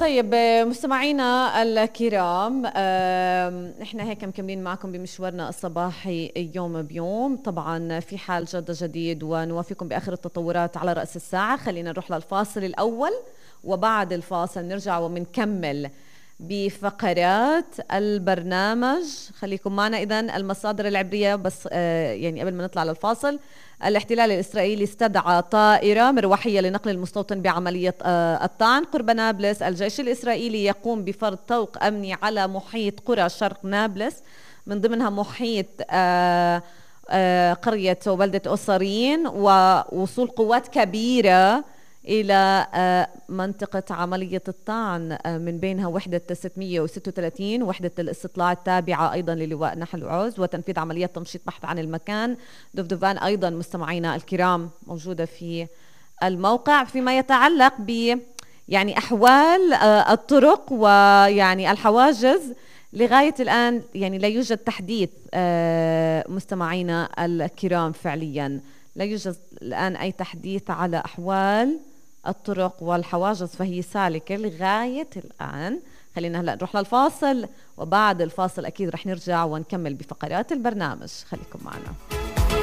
طيب مستمعينا الكرام، احنا هيك مكملين معكم بمشوارنا الصباحي يوم بيوم. طبعا في حال جد جديد ونوافيكم بآخر التطورات على رأس الساعة. خلينا نروح للفاصل الأول، وبعد الفاصل نرجع ومنكمل بفقرات البرنامج. خليكم معنا. إذن المصادر العبرية بس يعني قبل ما نطلع للفاصل: الاحتلال الإسرائيلي استدعى طائرة مروحية لنقل المستوطن بعملية الطعن قرب نابلس. الجيش الإسرائيلي يقوم بفرض طوق أمني على محيط قرى شرق نابلس، من ضمنها محيط قرية وبلدة أوصارين، ووصول قوات كبيرة إلى منطقة عملية الطعن، من بينها وحدة 636 وحدة الاستطلاع التابعة أيضا للواء نحل وعوز، وتنفيذ عمليات تمشيط بحث عن المكان. دفدفان أيضا مستمعينا الكرام موجودة في الموقع. فيما يتعلق ب يعني أحوال الطرق ويعني الحواجز، لغاية الآن يعني لا يوجد تحديث مستمعينا الكرام. فعليا لا يوجد الآن أي تحديث على أحوال الطرق والحواجز، فهي سالكة لغاية الآن. خلينا هلأ نروح للفاصل، وبعد الفاصل أكيد رح نرجع ونكمل بفقرات البرنامج. خليكم معنا.